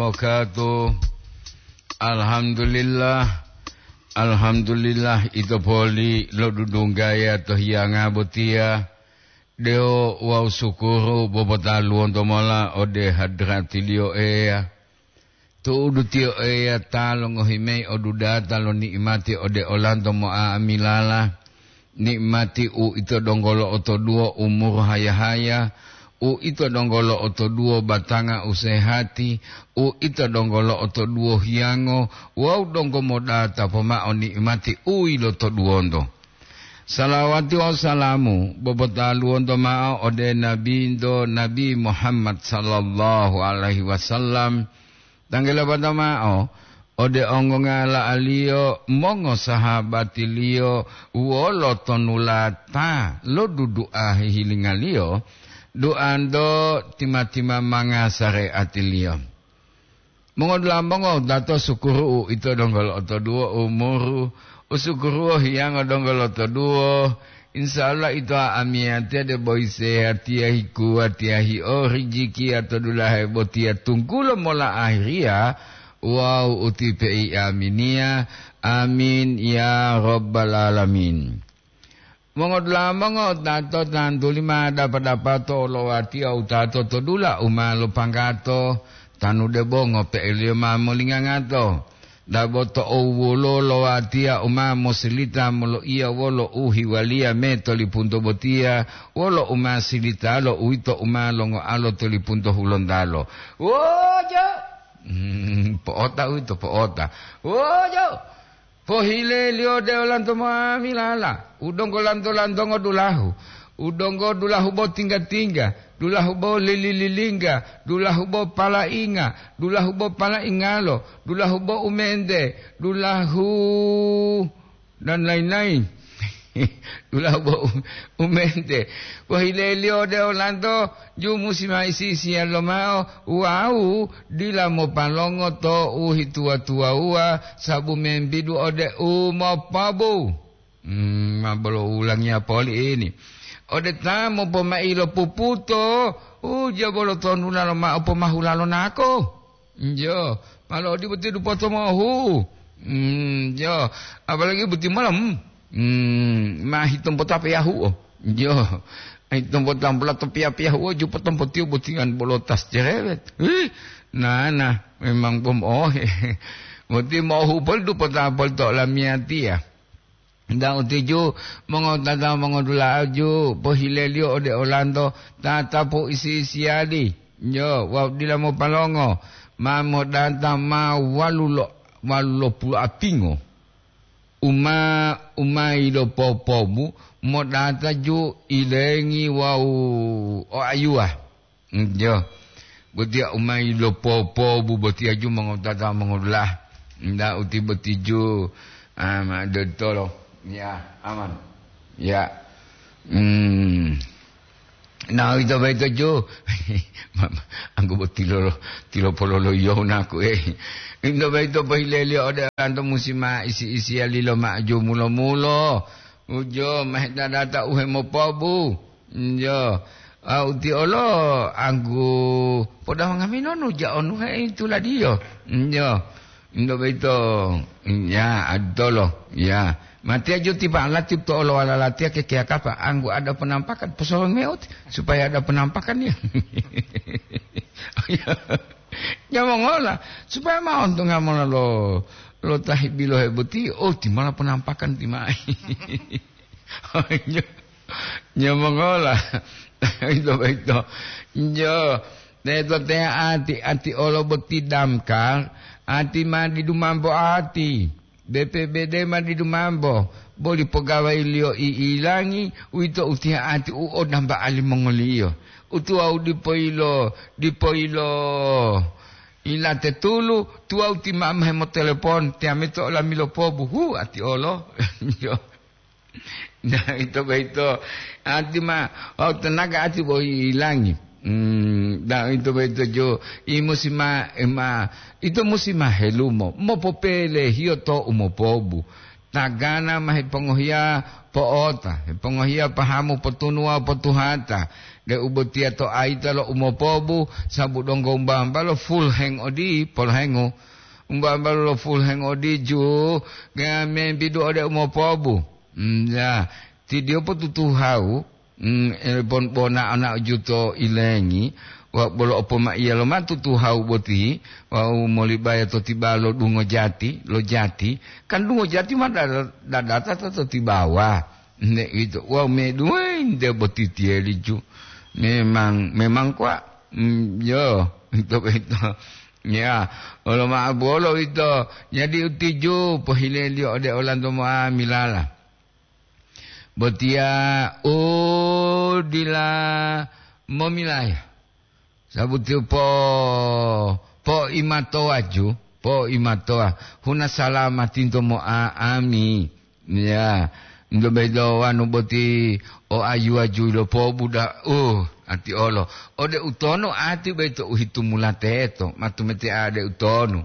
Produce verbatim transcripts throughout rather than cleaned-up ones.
Wabarakatuh. Alhamdulillah. Alhamdulillah, ito poli lodudunggaya to hiyanga botiya. Deo wawu sukuru bobotaluwonto mola ode hadratiliyo Eya. Tu'udu tiyo Eya ta longohi mayi odudata lo ni'imati ode olanto mo'a'amilala, ni'imati u ito donggo lo'otoduwo umuru haya-haya, u ito donggo lo'otoduwo batanga u sehati, u ito donggo lo'otoduwo hiyango wawu donggo modata pomao ni'imati u yilotoduwonto. Salawati wawu salamu bobotaluwonto mao ode Nabinto, Nabi Muhammad sallallahu alaihi wasallam, tanggelabata mao ode ongongala'aliyo, mongosahabatiliyo wolo tonulata lo dudu'a hihilingaliyo, duanto tima-tima manga sareatiliyo. Mongodula'a mongo tato sukuru'u ito donggo lo'otoduwo umuru, usukuruwo hiyango donggo lotoduwo. Insya Allah ito amiyatiya debo isehatiya hikuwatiya hio rijikiya to dulahe botiya tunggulo mola ahiriya wawu utipe'i aminiya. Amin ya rabbal alamin. Mongodula'a mongo tato tantuli ma dapa-dapato olowatiya utato to dula u ma lopanggato, tanu debo ngope'eliyo ma molingangato. Dabo to owuwolo lowatiya u ma mosilita moloiya wolo u hiwaliya me to lipunto botiya, wolo u ma silitalo uwito u ma longoalo to lipunto hulontalo. Wojo! Hmm, po'ota uwito, po'ota. Wojo! Pohileliyo ode olanto moamilala, u donggo lanto-lantongo dulahu, u donggo dulahu bo tingga-tingga, dulahu bo lili-lilingga, dulahu bo palainga, dulahu bo palaingalo, dulahu bo umente, dulahu dan lain-lain. Dulahu bo u-, umente. Pohileliyo ode olanto, ju musi ma isi-isiya lomao, wawu dila mopalongo to u hituwa-tuwawuwa, sabu membidu ode u mopobu. Hmm, ma bolo ulangiya poli ini. Ode ta mopomai lo puputo, uja bolo tonula lomao pomahula lo nako. Njo, malo odi boti dupoto mohu. Hmm, jo, apalagi boti malam. Hmm, ma hitompo ta peyahuo. Jo, hitompo ta pula to piya-piyahuo, jupo tompo tiu botingan bolo tas cerewet. Ih, nana, memang bom ohe. Boti mohu pol dupo ta pol to lamiyatia. Nda utiju, mongotata mongodula'aju, pohileliyo ode olanto, tatapu isi-isiyali. Jo, wawu dila mopalongo, ma modata ma walulo, walulo pulu apingo. Uma, uma ilopopomu, modata ju ilengi wawu oayuwa. Njo. Botiya u ma ilopopobu botiya ju mongotata mongodula'a. Nda uti boti ju, ah, ma dotolo. Ya, aman. Ya. Hmm. Na ito boyito ju. Ma-, ma-, anggo boti lolo, tilo pololoiyo naku, eh. Ito boyito pohileliyo ode olanto musi ma isi-isiya lilo ma'aju mulo-mulo. Ujo, ma hedadata u hemopobu. Njo, a, uti olo anggu podaha ngaminonu ja onuhe tuladiyo. Njo, njo boyito, ya, aditolo, ya. Matiya jo tipa lati to olo wala latiya kekeya kapa anggu ada penampakan, posolong meuti, supaya ada penampakan ya. Nyamongola, supaya ma ontonga mola lo, lo tahi bilohe boti, oh, timala penampakan timai. Nyo-, nyomongola. Ito boyito. Njo, teto te ati, ati olo boti damkar, ati ma didu mambo ati. B P B D ma didu mambo, boli pogawai-Liyo i'ilangi, uwito utiya ati u odamba alimongoliyo. Utuwawu dipo yilo, dipo yilo ilate tulu, tuwawu ti mama hemotelepon, tiyamito olami lopobu, hu, ati olo. Njo. Nah, ito boyito, ati ma, wawu tenaga ati bo ilangi. Hmm, nah, ito boyito jo, i musi ma, ma, ito musi ma helumo, mopopelehiyo to u mopobu. Tagana ma hepongohiya po'ota, hepongohiya pahamu potunuwa potuhata. Deu botiya to ayita lo umopobu, sabu donggo umba-umbalo full hang odi, polhengu. Umba-umbalo lo full hang odi ju, ga membidu ode umopobu. Hmm, ya, ti diyo potutuhau, hmm, e, bon bona ana juto ilengi, wa bolo opomaiya lo matutuhau boti, wau molibaya to tibalo dungo jati, lo jati, kan dungo jati ma dada-, dadata to, to tibawa. Nde ito, wau meduwe nde boti tiyeli ju. Memang, memang kwa, mm, yo, ito, ito. Ya, olo ma'o bolo ito. Jadi utiju pohileliyo ode olanto moa milala. Botiya u dila momilaya. Sabuti po, po'imatowa ju, po'imatowa. Huna salamatinto mo'a'ami. Ya, nto bedo wanu boti o ayuwa ju lo pobuda, uh, ati olo. Ode utono ati beto uhitumula teto, matumete ade utono.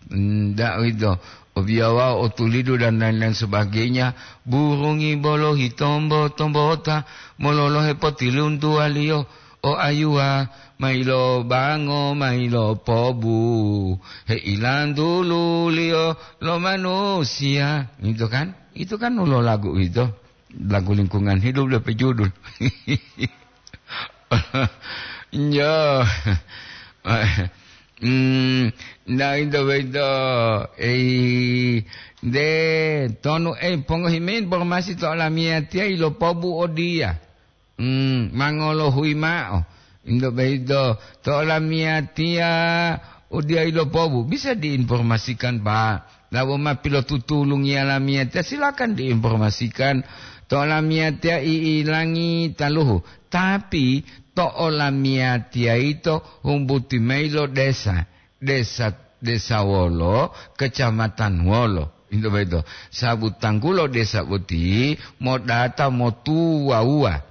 Ndak uwito, obiyawa, otulidu dan lain-lain sebagainya, burungi bolo hitombo-tombota, mololohe potiluntuwaliyo, o ayuwa, mailo bango, mailo pobu, heilantululiyo lo manusiya. Itu kan? Itu kan ulo lagu itu. Lagu lingkungan hidup lebih judul. Yo. Hmm, nda ito boyito, ei, nde tonu, ei, pongohi mayi informasi to olamiyatiya ilopobu odiya. Hmm, mangolohuyi ma'o. Ito boyito, to olamiyatiya odiya ilopobu. Bisa diinformasikan, Pak. Labo ma pilotutulungiya lamiyatiya, silakan diinformasikan. To olamiyatiya i'ilangi taluhu. Tapi to olamiyatiya yito humbuti mayi lo desa, desa, desa wolo, kecamatan wolo. Ito boyito. Sabu tanggulo desa boti modata motuwawuwa.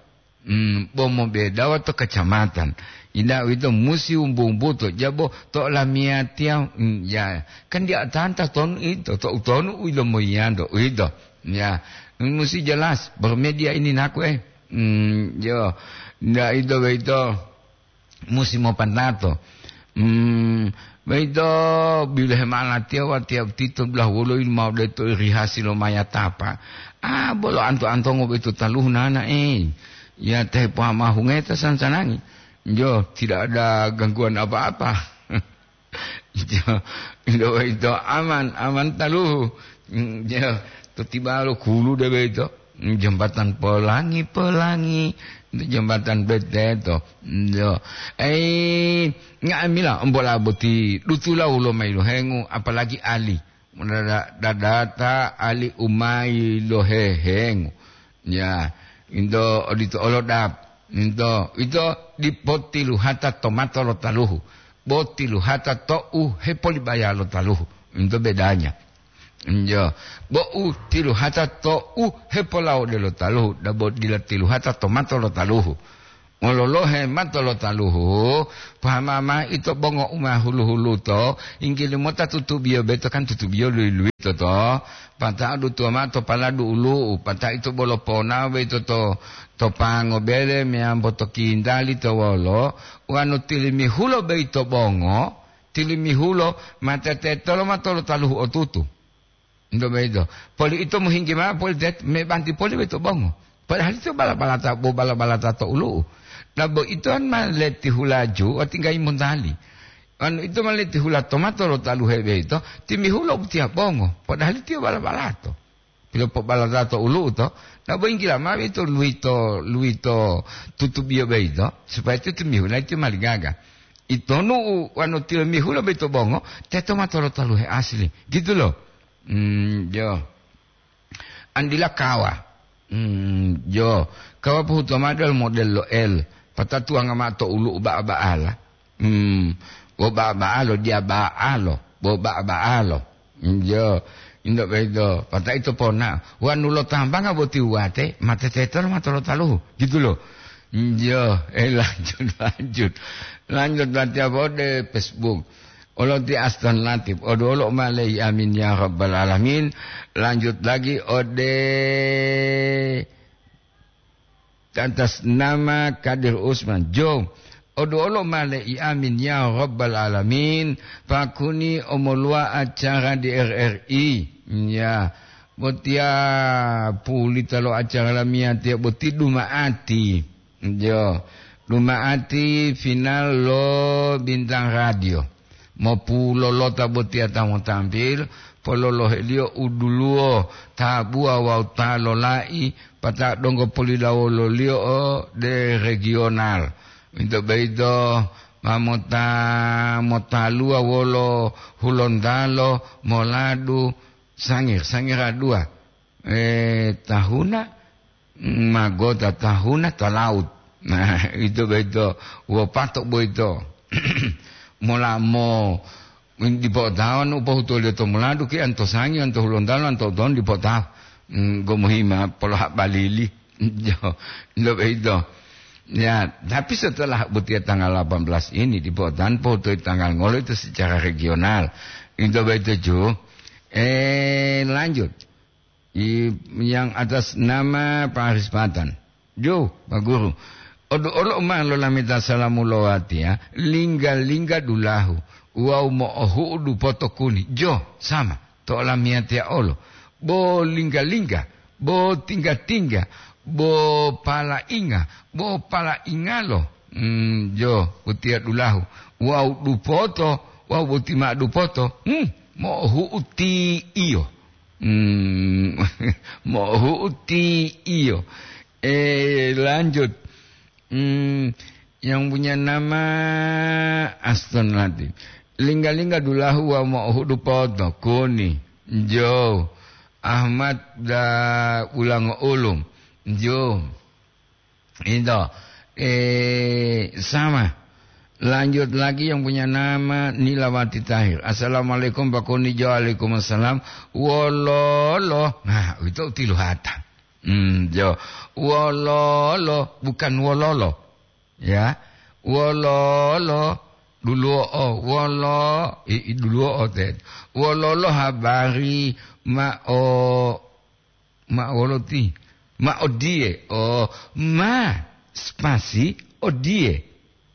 Hmm, bo mobedawa to kecamatan. Ida uwito musi wumbu-wumbuto, jabo to olamiyatiya, hmm, ya, kan dia tanta tonu ito, to utonu u ilomoyiyanto, uwito. Ya, musi jelas, bermedia ini naku, eh. Hmm, yo, nda ito boyito musi mopandato. Hmm, boyito bilohe ma'o latiya watiya uwito dulahu wolo ilu ma'o deto irihasi lo mayatapa. Ah, bolo anto-antongo boyito taluhu nana, eh. Ya, tehe pohamahungeta sansanangi. Jo, tidak ada gangguan apa-apa. Jo, ito, ito aman, aman taluhu. Mm, jo, to tibalo kulu de boyito. Mm, jembatan Pelangi-Pelangi, itu jembatan beteto. Mm, jo. Eh, nga'amila ombola boti dutula wolo mayi lohengu, apalagi ali. Dada-, dadata ali u mayi lohehengu. Ya, into odito olo dap. Into, ito dipo tiluhata to mato lo taluhu. Bo tiluhata to u hepolibaya lo taluhu. Into bedanya. Njo, bo u tiluhata to u hepolawode lo taluhu, dabo dila tiluhata to mato lo taluhu. Mololohe mato lo taluhu, pahama mao ito bongo u ma hulu-huluto, inggili mota tutubiyo beto kan tutubiyo lui-luito to, pata'o dutuwa mao to paladu ulu'u, pata'o ito bolo ponao boyito to, to pango bele meyambo to kintali to wolo, wonu tilimihulo boyito bongo, tilimihulo ma tetetolo mato lo taluhu otutu. Nto boyito. Poli ito mohinggi mao poli tet-, mebanti poli boyito bongo. Padahal ito bala-balata, bo bala-balata to ulu'u. Dabo ito an ma leti hulaju, o tinggayi montali. Anu ito ma leti hula to mato lo taluhe boyito, timihulo utiya bongo. Padahal ito bala-balato. Pilopobalata to ulu'u to, dabo inggila mao ito luwito, luwito tutubiyo boyito, supaya ito timihula ito maligaga. Itonu u wanu tilimihulo boyito bongo, teto mato lo taluhe asli. Gitu lo. Hmm, jo. Andila kawa. Hmm, jo. Kawa pohuto mao delo model lo L. Patatuwanga mao to ulu'u ba'a-ba'ala. Hmm, bo ba'a-ba'alo, diya ba'alo, bo ba'a-ba'alo. Jo, indo boyito, pata'o ito ponao. Wanu lo tambanga boti wuwate, ma tetetolo mato lo taluhu. Gitu lo. Jo, eh, lanjut, lanjut. Lanjut latiya ode Facebook. Olo ti Aston Latif, oduwolo u ma leyi, amin ya rabbal alamin. Lanjut lagi ode atas nama Kadir Usman. Jo, oduolo male i amin ya Rabbal Alamin, pakuni omoluwa acara di R R I. Ya, botiya pulita lo acara lamiyatiya boti duma'ati. Jo, duma'ati final lo Bintang Radio. Mopulolota botiya ta motampil, pololohe-Liyo u duluwo, tabuwa wawu ta lolai, pata donggo polilawolo-Liyo ode regional. Uwito boyito ma mota-, motaluwa wolo Hulontalo moladu Sangir, Sangir a dua. Eh, tahuna, magota tahuna ta laut. Nah, ito boyito, wopato boyito. Mola mo, dipo otawa nu pohutuliyo to muladu ki anto Sangir, anto Hulontalo, anto Uton dipo otawa. Mm, gomuhima polo hak balili. Jo, ito boyito. Ya, tapi setelah botiya tanggal delapan belas ini dipo otawa pohutuliyo tanggal ngolo itu secara regional. Ito boyito ju. Eh, lanjut. I-, yang atas nama Pak Haris Patan. Jo, Pak Guru. Odu olo ma lolameta salamu lo watiya, lingga-lingga dulahu, wawu mo'ohu'u dupoto kuni. Jo, sama, to olamiyatiya olo. Bo lingga-lingga, bo tingga-tingga, bo palainga, bo palaingalo. Hmm, jo, utiya dulahu. Wawu dupoto, wawu boti ma'o dupoto. Hmm, mo'ohu'u ti iyo. Hmm, mohuti iyo. Eh, lanjut. Hmm, yang punya nama Aston Latif. Lingga-lingga dulahu wa mohudu poto, kuni, jo. Ahmad da ulango ulum, jo. Itu. Eh, sama. Lanjut lagi yang punya nama Nilawati Tahir. "Assalamualaikum, Pak Kuni." "Waalaikumsalam." "Wololo." Nah, itu tiluhata. Hmm, jo. "Wololo," bukan wololo. Ya. "Wololo." Duluo, wolo, i, i, duluo te. "Wololo habari ma o Ma wolo ti? Ma odiye. Oh, ma spasi odiye.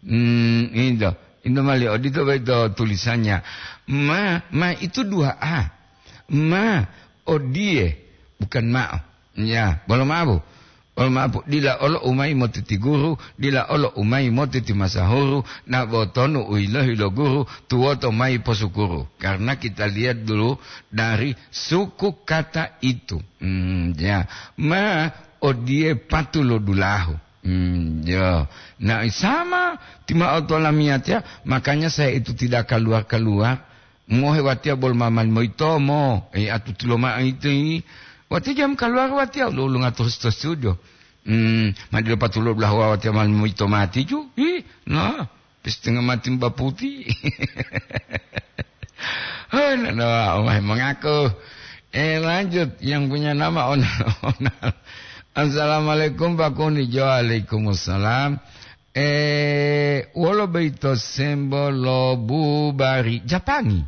Hmm, indo. Indo mali odito boyito tulisannya. Ma, ma itu dua A. Ma odiye, bukan ma'o. Ya, bolo mabu. Bolo mabu. Dila olo umai motiti guru, dila olo umai motiti masahuru, na botonu uilohi lo guru, tuwoto mai posukuru. Karena kita lihat dulu dari suku kata itu. Hmm, ya. Ma odiye patu lo dulahu. Hmm, ya. Nah, sama tima'o to lamiyatiya, makanya saya itu tidak keluar-keluar. Mohe watiya bol mamani moyitomo, e, atuti loma'o ito, i. Watiya jam keluar watiya, lo, lo ngato sto studio. Hmm, ma dilo patu lo dulahu watiya mani moyito mati ju. Ih, nah. Setengah mati baputi. Hei, nana, omah mengaku. Eh, lanjut. Yang punya nama Onal-Onal. "Assalamualaikum, Pak Kuni." "Waalaikumsalam." Eh, wolo boyito sembo lo bubari Japangi?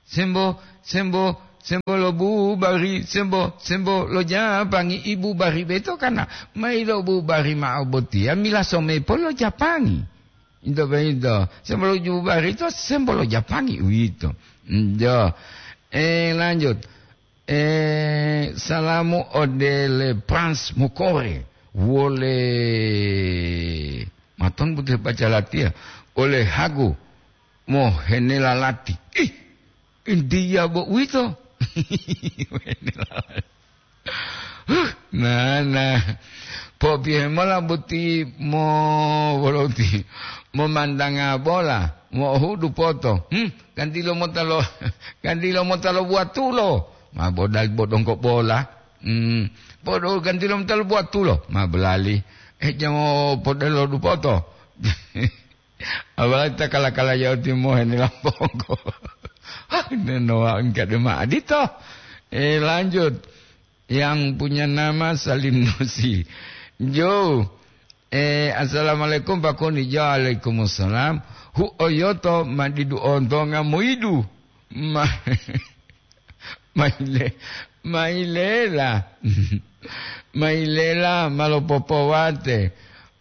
Sembo, sembo, sembo lo bubari, sembo, sembo lo Japangi, i bubari beto kana. Mai lo bubari ma'o botiya, mila somepo lo Japangi. Into boyito. Sembo lo bubari to, sembo lo Japangi uwito. Njo. Eh, lanjut. Eh, salamu ode le Prince Mukore. Wole. Maton butuh baca latihan. Ole Hagu. Mohenela lati. Ih, India bo uwito. Mohenela lati. Huh, nana. Popiye mola boti mo-, boloti. Momandanga bola. Mohudu poto. Hmm, ganti lo mota lo, ganti lo mota lo buatulo. Ma bodali bodongko bola. Hmm, bodo ganti lo mota lo buatulo. Ma belali. Eh, jamo podelo dupoto. Apalagi ta kala-kala yau timohe ni lampongko. Hah, nenowa engka dema adito. Eh, lanjut. Yang punya nama Salim Nusi. Jo. Eh, assalamualaikum, Pak Koni. Waalaikumsalam. Hu oyoto madidu ontonga moidu. Ma-, maile. Mailela. Mailela ma lopopowate.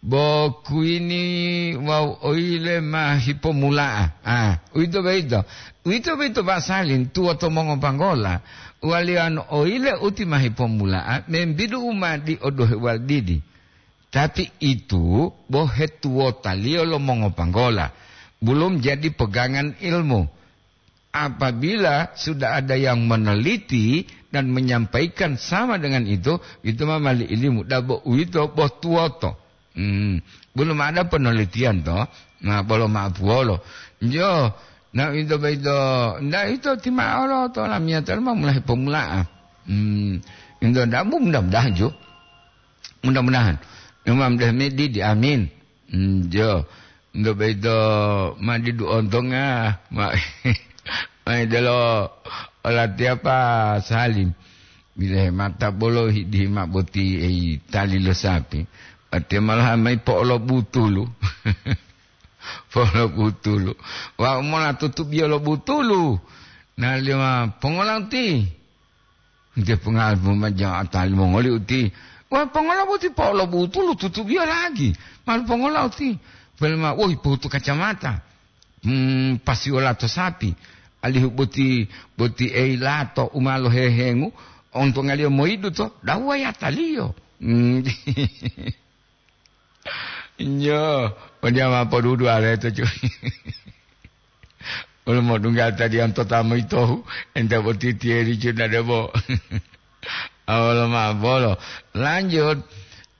Bo kuini wawu oile ma hipomula'a. Ah, uwito boyito. Uwito boyito Pak Salim, tuwoto mongopanggola. Waliyano oile uti ma hipomula'a, membidu u ma diodohe waldidi. Tapi itu bo hetuwotaliyo lo mongopanggola. Belum jadi pegangan ilmu. Apabila sudah ada yang meneliti dan menyampaikan sama dengan itu, itu ma mali ilimu. Dabo uwito bo tuwoto. Hmm, belum ada penelitian to. Nah, bolo ma'apuwolo. Jo, na ito boyito, nda ito tima'olo to lamiyata ma mulahe pomula'a. Hmm, ito nda bu mudah-mudahan jo. Mudah-mudahan. Imam Dahmidi di amin. Hmm, jo. Ito boyito ma didu ontonga. Ma, ma idelo olatiya Pak Salim. Bilahe mata bolo hidihima boti ei tali lo sapi. Watiya malaha mayi po'olobutulu. Po'olobutulu. Wa mola tutubiyo lo butulu. Nalima pongola uti. Nte pongal puma jawa tali mongoli uti. Wa pongola boti po'olobutulu tutubiyo lagi. Malu pongola uti. Pelma, woi, pohutu kacamata. Hmm, pasiwo lato sapi. Alihu boti, boti ei lato u ma lohehengu, ontongaliyo moyidu to, dawuwa yataliyo. Hmm. Nyo, odiya ma podudu aleto, cu. Wolo modungga tadiyanto ta moyitohu, ente boti tiyeri, cu, na debo. Awolo ma bolo. Lanjut.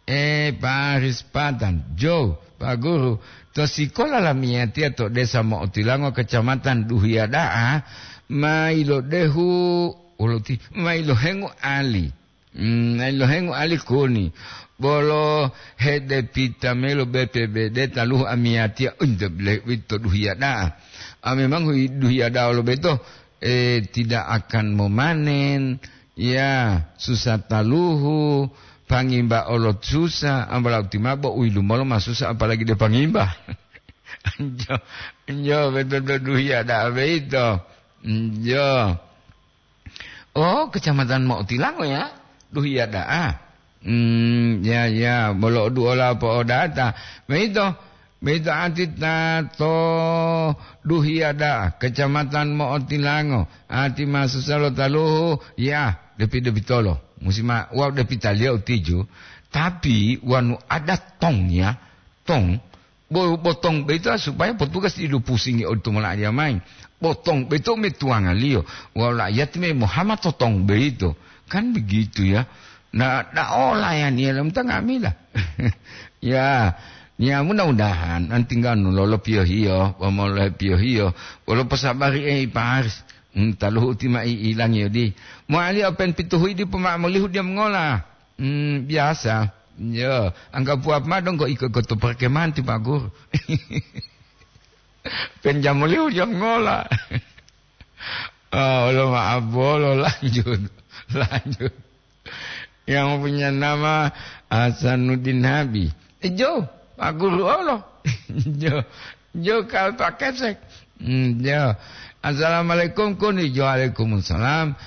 Eh, Pak Rispatan, Jo, Pak Guru, to sikola lamiyatiya to Desa Mo'otilango, Kecamatan Duhiya da'a, ma ilodehu, wolo ti, ma ilohengu ali. Hmm, ma ilohengu ali kuni. Bolo hede pita melo B P B D taluhu amiyatiya, unte bile wito Duhiya da'a. Ah, memang hui Duhiya da'a lo beto, eh, tidak akan memanen, ya, susah taluhu, pangimba olot susah, ambala uti mabo u yilumolo ma susah, apalagi de pangimba. Njo, njo, betul-betul Duhiya da'a beito. Njo. Oh, Kecamatan Mo'otilango, ya? Duhiya da'a. Hmm, ya, ya, bolo duola po'odata. Beito, beito ati ta to Duhiya da'a, Kecamatan Mo'otilango. Ati ma susah lo taluhu, ya, depi-depitolo. Musi ma, wau depitaliyo utiju. Tapi wanu ada tong, ya, tong, Bo-, botong boyito supaya petugas didu pusingi odito mola'a diya mayi. Botong boyito metuwangaliyo. Wawu la'iyati me mohama to tong boyito. Kan begitu, ya. Na, da'ola ya niya lamta nga'amila. Ya, ya mudah-mudahan antingganu lolo piyohiyo, wamolohe piyohiyo, wolo posabari, eh, Pak Haris. Hmm, taluhu uti ma i-, ilangiyo di. Mo'aliyo pen pituhuyi dipo ma'amolihu diya mongola. Hmm, biasa. Yo, anggapuwa ma donggo iko-iko to perkemahan ti Pak Guru. Penjamulihu jam ngola. Oh, lo maaf bolo, lanjut. Lanjut. Yang punya nama Hasanuddin Habib. Eh, Jo, Pak Guru olo. Jo, Jo kal Pak Kesek. Hmm, Jo. Assalamualaikum, kuni. Jo, waalaikumsalam.